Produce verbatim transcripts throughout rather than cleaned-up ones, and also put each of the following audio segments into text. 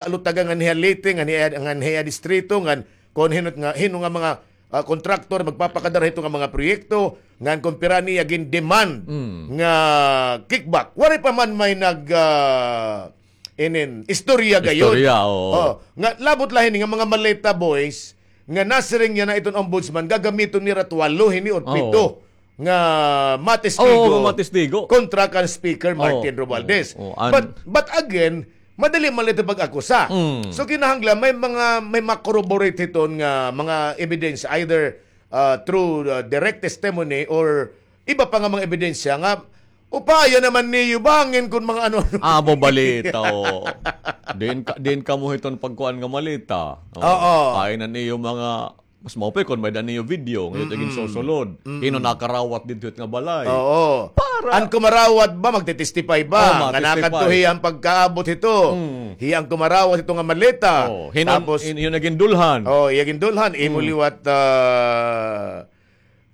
alutaga ngan hiya leyte, ngan hiya, ngan hiya distrito, ngan kon hin-o nga, hin-o nga mga, ah, kontraktor magpapakadara hito nga mga proyekto, ngan kon pira niya gin-demand nga kickback. Waray pa man may nag, ah, inin, istorya gayon. Istorya, oo. Oh, nga labot la hini nga mga maleta boys, nga nasiring niya na iton ombudsman, gagamiton nira tuwalo hini or pito nga matestigo. Oo, nga matestigo kontra kan Speaker Martin Romualdez. Oo, oo. An- But, but again, madali man la ito pag-akusa. Mm. So, kinahanglan may mga, may ma-corroborate hiton nga mga ebidensya, either, ah, through, ah, direct testimony or iba pa nga mga ebidensya nga upaya naman niyo bangin kon mga ano. Amo balita, o. Diin ka, diin kamo hiton pagkuan nga maleta. O, oo. Pain an iyo mga, mas maupay kon may-ada niyo video, nga ito ginsusulod. Mm-mm. Hin-o nakarawat didto hit nga balay. Oo. Para an kumarawat ba, magtitestify ba? Oo, nga matestify. Nakadto hiya an pagkaabot hito. Mm. Hiya an kumarawat hito nga maleta. Oo. Hin-o, tapos hin-, hin-o nagindulhan. Oo, iya gindulhan. Imo liwat, ah,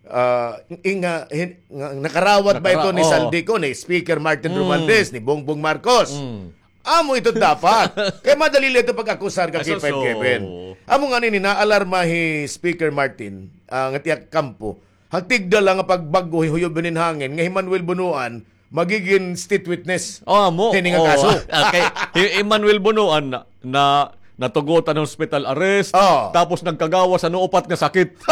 Ah, in-, nga, hin-, nga, nakarawat ba ito ni Zaldy Co, ni Speaker Martin Romualdez, ni Bongbong Marcos? Mm. Amo ito dapat. Kay madali la ito pag-akusar ka, K five Kevin. Amo nga nini, naalarma hi Speaker Martin, ah, nga tiyak kampo. Hagtigda la nga pagbag-o, huyob hinin hangin, nga hi Manuel Bonoan, magigin state witness. Oh, amo. Hini nga kaso. Okay. Hi Emmanuel Bonoan na, na, natugotan hospital arrest, tapos nagkagawas han upat nga sakit.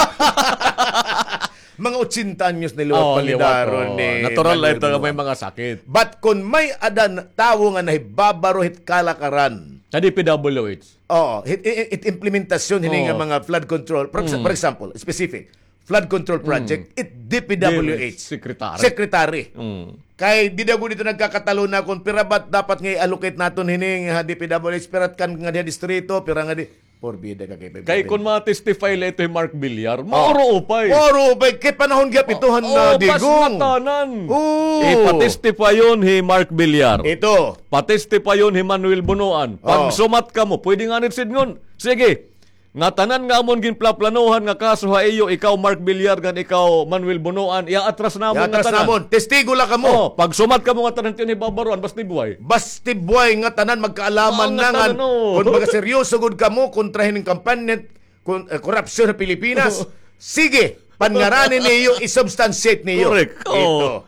Mga ochenta anyos na liwat, palidaron ni Emmanuel Bonoan. Natural la ito nga may mga sakit. But kon may-ada tawo nga nahibabaro hit kalakaran. Sa D P W H. Oo, hit, hit, hit implementasyon hini nga mga flood control. For exa-, for example, specific. Flood control project, it D P W H secretary. Secretary. Mm. Kay dida gud ito nagkakataluna kon pira ba dapat nga i-allocate naton hini ha D P W H, pira kan nga diha distrito, pira nga di, porbida ka kay. Kay kon ma-testify la ito hi Mark Villar, mauro upay. Mauro upay. Kay panahon gihap ito han, ah, Digong. Pas ngatanan. Oo. Ipa-testify-on hi Mark Villar. Ito. Pa-testify-on hi Manuel Bonoan. Pagsumat kamo, pwede ngani sidngon. Sige. Ngatanan nga amon ginplaplanohan nga kaso ha iyo, ikaw Mark Villar ngan ikaw Manuel Bonoan, iaatras namon ngatanan. Iaatras namon. Testigo la kamo. Oh, pagsumat kamo ngatanan, tiyon, hibabaroan, basti buhay. Basti buhay ngatanan, magkaalaman na ngatanan, oh. Kon magaseryoso gud kamo kontra hining kampanya kon, eh, korupsyon ha Pilipinas, sige, pangarani niyo, isubstantiate niyo. Correct. Oh.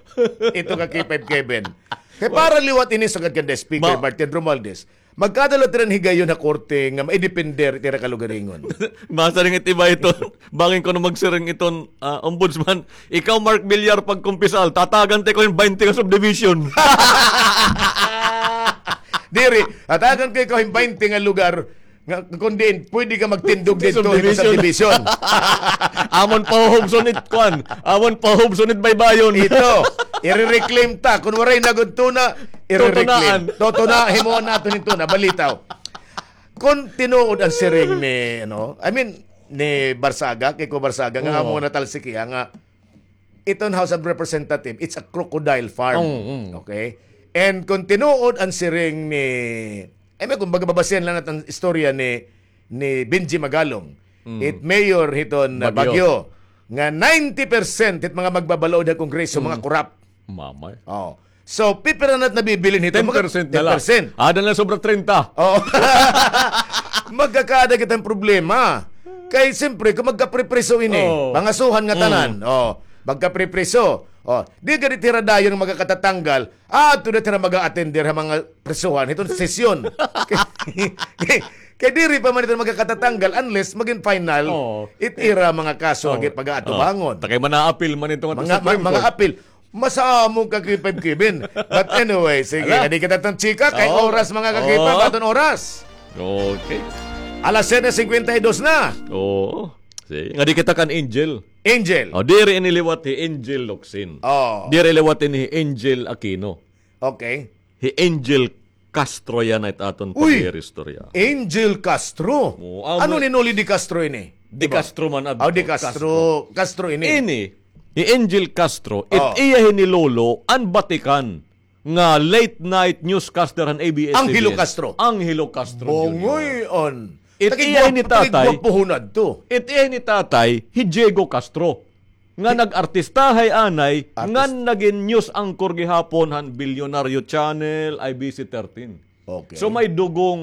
Ito. Ito ka K five Kevin. Kay para liwat ini sugad kan Speaker Martin Romualdez. Magkadala it ira higayon ha korte nga maidepender it ira kalugaringon. Masiring it iba ito. Bangin kuno magsiring iton, ah, ombudsman, ikaw, Mark Villar, pagkumpisal, tatagan ta ikaw hin baynte nga subdivision. Diri, tatagan ko ikaw hin baynte nga lugar nga kon diin pwede ka magtindog didto hin subdivision. Amon pahuhubson it kuan. Amon pahuhubson it baybayon. Ito, ire-reclaim ta. Kon waray na gud tuna, ire-reclaim. Tutunaan. Tutuna, himuon naton hin tuna. Balitaw. Kon tinuod an siring ni, ano, I mean, ni Barzaga, Kiko Barzaga, nga amo nga natalsik hiya nga iton House of Representative, it's a crocodile farm. Mm, mm. Okay? And kon tinuod an siring ni, I mean, kumbaga, babasihan la naton an istorya ni, ni Benji Magalong, it mayor hiton, uh, Baguio, nga ninety percent hit mga magbabalaod ha Kongreso, mga korap. Mamay. Oh. So, pipira na it nabibilin hito? Mga ten percent na la. Ten percent. Ada na sobra treinta. Oh. Magkakaada kita hin problema. Kay, siyempre, kon magkapripriso ini, pangasuhan ngatanan. Oh, magkapripriso. Oh, di gad it hira dayon nga magkakatatanggal. Ah, adto na it hira mag-a-attender ha mga prisuhan hiton sesyon. Kay, kay diri pa man ito magkakatatanggal unless magin final it ira mga kaso nga pag-aatubangon. Ta kay man-aapil man ito ngadto sa Supreme Court. Mga, ma-, mga apil. Masamok ka, K five Kevin. But anyway, sige, ngadi kita tan chika kay oras, mga ka-K five, aton oras. Okay. Alas siyete singkwenta y dos na. Oo. Sige, ngadi kita kan Angel. Angel. O, diri ini liwat hi Angel Locsin. Oh. Diri liwat ini hi Angel Aquino. Okay. Hi Angel Castro yana it aton pag-iistorya. Angel Castro. Oo, amo. Ano ni Noli de Castro ini? De Castro man adto. Oh, de Castro. Castro ini. Ini, hi Angel Castro, it iya hini lolo an batikan nga late night newscaster han A B S-C B N. Angelo Castro. Angelo Castro Junior. Bongoy-on. It iya hini tatay. It iya hini tatay, hi Diego Castro. Nga nag-artistahay anay, ngan nagin news anchor gihapon han Bilyonaryo Channel, I B C thirteen. Okay. So may dugong